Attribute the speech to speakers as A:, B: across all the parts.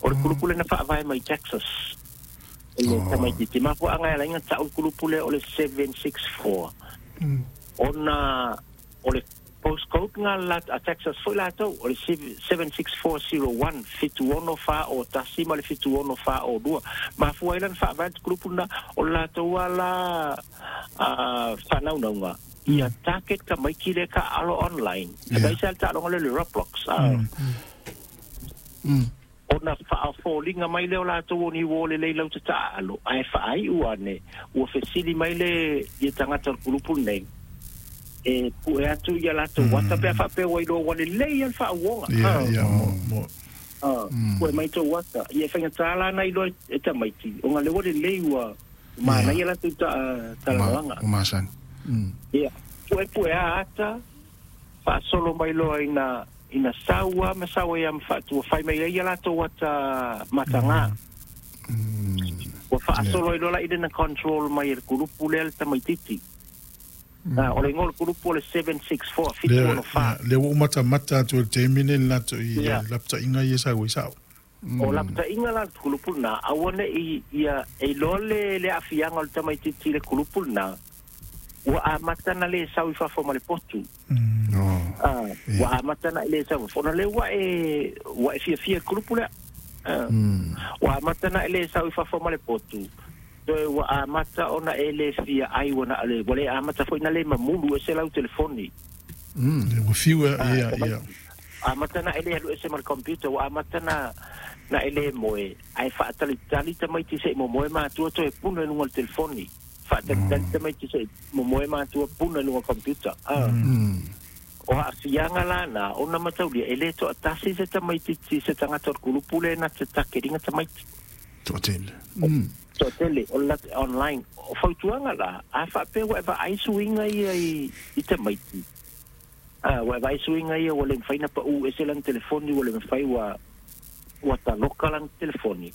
A: O le kulupu le na faavae mai Texas. Le tamaitiiti mafuaaga e ala ai ona ta'u le kulupu lea o le 764 ona o le postcode na a Texas foi latou o le 76401 76401 ma le 76402. Mafua ai la ona faavae le kulupu lena o le latou lava la faanaunauga ia target tamaiti lea e taaalo online. Aemaise lava le taaloga lea o le Roblox. Ona faafoliga mai lea o latou o ni uo lelei lau te taaalo, ae faaiu ane ua fesili mai le ia tagata o le kulupu lenei e pue atu ia latou ata pe a faapea ua iloa ua lelei lava le faauoga. Pue mai tou ata. Ia e faigata la ona iloa e tamaiti ona lea ua lelei ua manaia latou talanoaga. Ia, puepue a ata, faasolo mai loa ina ina sau a ma sau ai lava ma faatua fai mai ai ia latou ata mataga. Ua faasolo ai loa la i na control mai e le kulupu lea le tamaitiiti. O le igoa o le kulupu o le 764 764.
B: Lea ua ou matamata atu i le taimi lenei i le latou i lapataiga ia e sau ai sao.
A: O lapataiga la le kulupu lena, aua ne i ia e iloa le le aafiaga o le tamaitiiti i le kulupu lena, ua amata ona le sau i fafo ma le potu. Ua amata ona e le sau i fafo, ona lea ua e ua e fiafia i le kulupu lea. Ua amata ona e le sau i fafo ma le potu, toe ua amata ona e le fia ai ua na o le ua le amata foi ona le mamulu ese lau telefoni.
B: Ua fiu ia, ia.
A: Amata na e le alu ese ma le computer, ua amata na na e le moe, ae faatalitali tamaiti se i momoe matua toe puna i luga o le telefoni. Faatalitali tamaiti se i momoe matua puna i luga o le computer. O aafiaga la na, ona mataulia, e le toatasi se tamaitiiti se tagata o le kulupu lea na te takeriga tamaiti.
C: Toatele.
A: Toatele, o le online. O fautuaga la, a faapea ua e vaai suiga ia i tamaiti, ua e vaai suiga ia ua le mafai ona pau ese lana telefoni, ua le mafai ua ua taloka lana telefoni.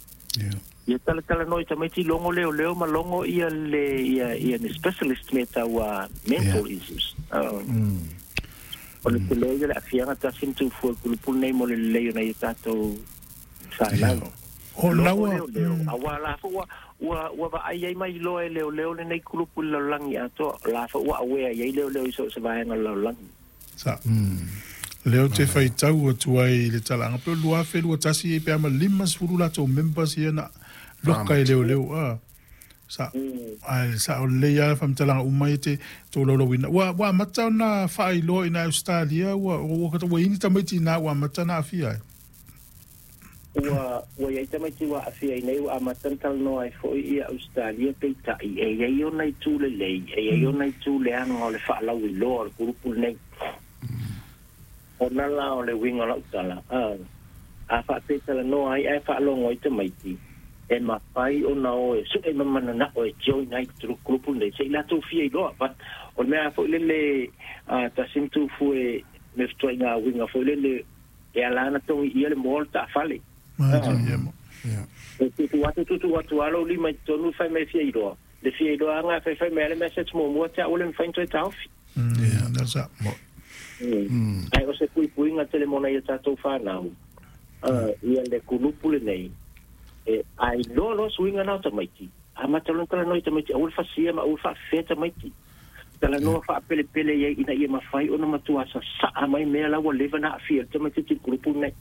A: Ia talatalanoa i tamaiti logo leoleo ma logo ia le ia ia ni specialist me tau mental issues. O le tele ia le aafiaga tasi ma tuufua i kulupu lenei mo le lelei o nai o tatou fanau.
B: O
A: Logo
B: laua
A: leoleo, aua la foi ua ua ua vaai ai ma iloa e leoleo lenei kulupu i le lalolagi atoa. O la foi ua aware i ai leoleo i so o se vaega o le lalolagi.
B: Sa. Lea ou te faitau atu ai i le talaaga pei o le 2021 pe a ma 50 latou members ia na loka e leoleo a. Sa. Ae sao lelei lava faamatalaga uma ia e te tolaulauina. Ua ua amata ona faailoa i ina Ausetalia ua ua ua i ai ni tamaiti i ina ua amata ona aafia ai?
A: Ua ua i ai tamaiti ua aafia i inei ua amata ona talanoa ai foi ia Ausetalia peitai e i ai ona itu lelei, e i ai ona itu leaga o le faalauiloa o le kulupu lenei. Ona la o le uiga o lau tala, a faapea e talanoa ai ae faalogo ai tamaiti, e mafai ona o e sue ma mananao e join ai le kulupu lenei se i latou fia iloa. But o le mea foi lele tasi ma tufu e me fetuaiga uiga foi lele e ala ona togi ʻia le moa o le taafale. E tuutuu atu tuutuu atu lava lou lima i totonu fai mai e fia iloa. Le fia iloa aga fai fai mai lava le message muamua te au ua le mafai ona toe taofi. Ae o se puipuiga tele mo nai o tatou fanau ia le kulupu lenei e a iloa loa suiga na o tamaiti, amata loa ona talanoa i tamaiti aua le fasia ma aua le faafefea tamaiti. Talanoa faapelepele i ai ina ia mafai ona matua sasaa mai mea la ua leva ona aafia ai le tamaitiiti i le kulupu lenei.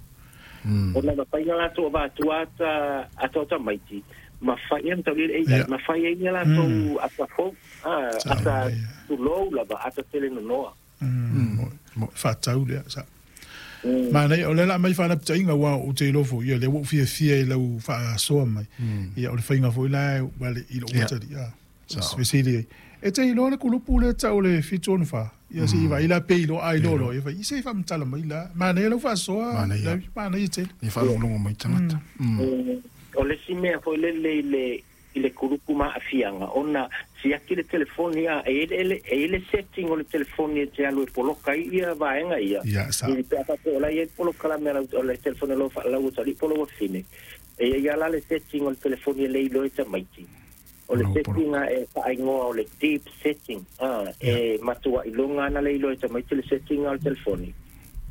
A: Ona e mafai ona latou avatua ata ata o tamaiti ma fai ai mataulia i le AI, ma fai ai ni a latou ata fou, ata tulou lava, ata tele nonoa.
B: Faatau lea sa. Manaia, o lea o le a aumai faanapitaina, aua ou te iloa foi, ia, lea ua ou fiafia i lau faasoa mai. Ia, o le faiga foi la i lou atalii, a. Fesili ai, e te iloa le kulupu lea e tau o le 764? Ia se i vaai la pe iloa, a iloa loa, ia fai, se i faamatala mai la. Manaia lau faasoa,
C: Manaia.
B: Manaia tele.
C: Ia faalogologo mai tagata.
A: O le isi mea foi lele i le i le kulupu ma aafiaga, ona siaki le telefoni, a e i ai le e i ai le setting o le telefoni e te alu e poloka ai ia vaega ia.
B: Ia, sa.
A: I pe a faapea o la e i ai le polokalame a lau o le telefoni a lou lau atalii po o lou afine, e i ai lava la le setting o le telefoni e le iloa e tamaiti. O le setting e faaigoa o le deep setting, e matuai iloga ana le iloa e tamaiti le setting o le telefoni.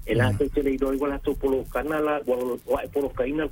A: E latou te le iloa ai ua latou polokana la, ua e polokaina le